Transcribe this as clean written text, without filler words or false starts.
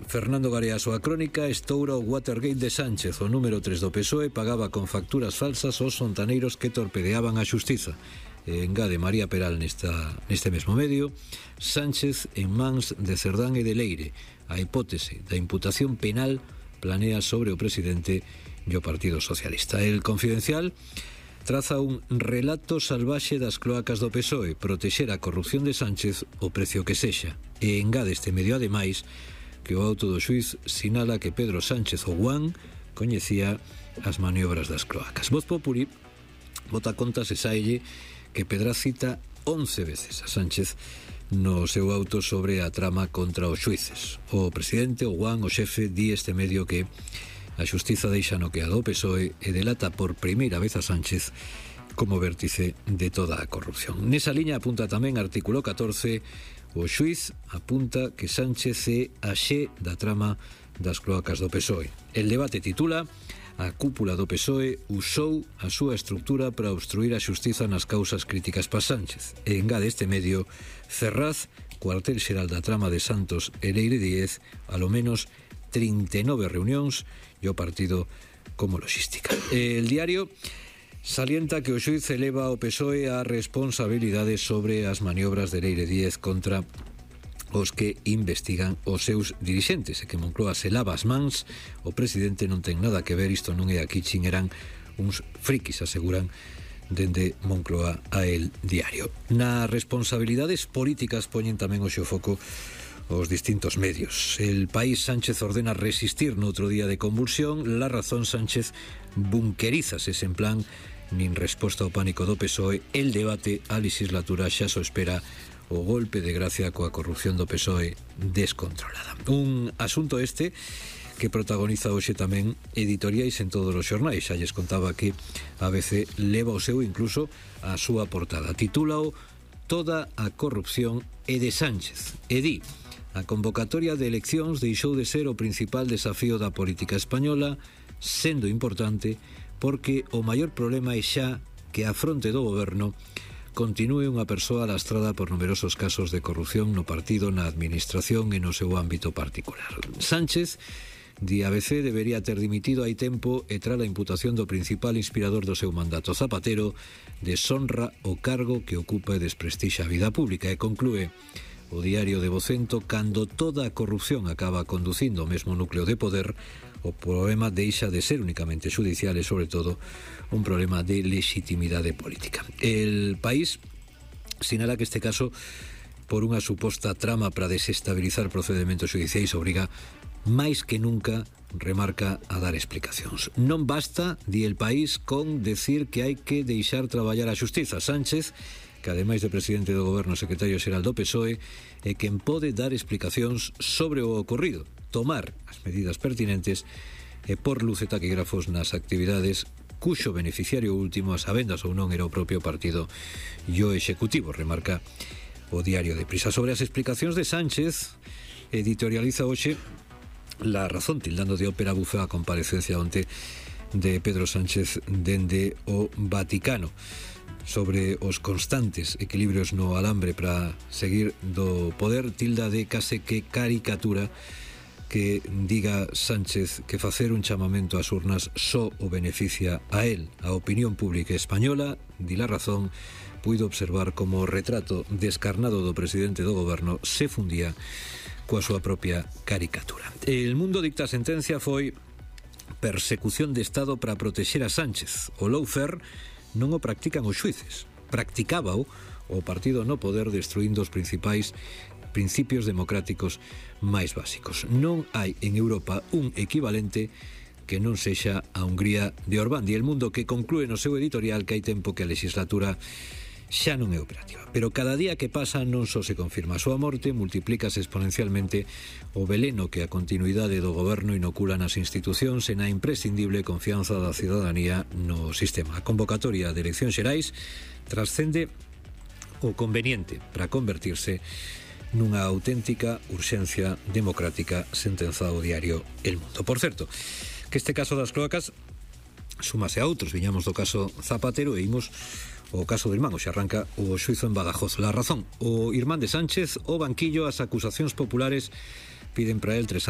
Fernando Garea, a súa crónica, estoura o Watergate de Sánchez. O número 3 do PSOE pagaba con facturas falsas aos fontaneiros que torpedeaban a xustiza. Engade María Peral neste mesmo medio: Sánchez en mans de Cerdán e de Leire. A hipótese da imputación penal planea sobre o presidente e o Partido Socialista. El Confidencial traza un relato salvaxe das cloacas do PSOE, protexer a corrupción de Sánchez o precio que sexa. E engade este medio, ademais, que o auto do xuiz sinala que Pedro Sánchez o Guán coñecía as maniobras das cloacas. Voz Populi bota contas e saelle que Pedraz cita 11 veces a Sánchez no seu auto sobre a trama contra os xuíces. O presidente, o Guán, o xefe, di este medio que a xustiza deixa noqueado o PSOE e delata por primeira vez a Sánchez como vértice de toda a corrupción. Nesa liña apunta tamén artículo 14. O xuiz apunta que Sánchez é a xe da trama das cloacas do PSOE. El debate titula: a cúpula do PSOE usou a súa estructura para obstruir a xustiza nas causas críticas pa Sánchez. E engade este medio: Ferraz, cuartel xeral da trama de Santos e Leire Díez, alo menos 39 reunións e o partido como logística. El Diario salienta que o xuiz eleva ao PSOE a responsabilidade sobre as maniobras de Leire Díez contra os que investigan os seus dirixentes, e que Moncloa se lava as mans. O presidente non ten nada que ver, isto non é aquí, eran uns frikis, aseguran dende Moncloa a El Diario. Nas responsabilidades políticas poñen tamén o xeo foco os distintos medios. El País: Sánchez ordena resistir noutro día de convulsión. La Razón: Sánchez bunkerízase sen plan nin resposta ao pánico do PSOE. El Debate: a legislatura xa só espera o golpe de gracia coa corrupción do PSOE descontrolada. Un asunto este que protagoniza hoxe tamén editoriais en todos os xornais. Xa lles contaba que a ABC leva o seu incluso a súa portada. Titúlao: Toda a corrupción é de Sánchez. E di: a convocatoria de eleccións deixou de ser o principal desafío da política española, sendo importante porque o maior problema é xa que a fronte do goberno continúe unha persoa lastrada por numerosos casos de corrupción no partido, na administración e no seu ámbito particular. Sánchez, di ABC, debería ter dimitido hai tempo e tras a imputación do principal inspirador do seu mandato, Zapatero, deshonra o cargo que ocupa e desprestixa a vida pública. E conclúe o Diario de Vocento: cando toda a corrupción acaba conducindo ao mesmo núcleo de poder, o problema deixa de ser únicamente xudicial e, sobre todo, un problema de legitimidade política. El País sinala que este caso, por unha suposta trama para desestabilizar procedementos xudiciais, obriga máis que nunca, remarca, a dar explicacións. Non basta, di El País, con decir que hai que deixar traballar a xustiza. Sánchez, que ademais de presidente do goberno, secretario xeral do PSOE, é quen pode dar explicacións sobre o ocorrido, tomar as medidas pertinentes e por luz e taquígrafos nas actividades cuxo beneficiario último, a sabendas ou non, era o propio partido e o executivo, remarca o Diario de Prisa. Sobre as explicacións de Sánchez, editorializa hoxe La Razón, tildando de ópera bufa a comparecencia onte de Pedro Sánchez dende o Vaticano sobre os constantes equilibrios no alambre para seguir do poder. Tilda de case que caricatura que diga Sánchez que facer un chamamento ás urnas só o beneficia a él. A opinión pública española, di La Razón, puido observar como o retrato descarnado do presidente do goberno se fundía coa súa propia caricatura. El Mundo dicta a sentencia foi persecución de Estado para protexer a Sánchez. O lawfare non o practican os xuíces, practicábao o partido no poder, destruindo os principais principios democráticos máis básicos. Non hai en Europa un equivalente que non sexa a Hungría de Orbán. E El Mundo que conclúe no seu editorial que hai tempo que a legislatura xa non é operativa. Pero cada día que pasa non só se confirma a súa morte, multiplícase exponencialmente o veleno que a continuidade do goberno inocula nas institucións e na imprescindible confianza da cidadanía no sistema. A convocatoria de eleccións xerais trascende o conveniente para convertirse nunha auténtica urxencia democrática, sentenza o Diario El Mundo. Por certo, que este caso das cloacas súmase a outros. Viñamos do caso Zapatero e imos o caso do irmán. Hoxe arranca o xuizo en Badajoz. La Razón: o irmán de Sánchez, o banquillo, as acusacións populares piden para el 3 anos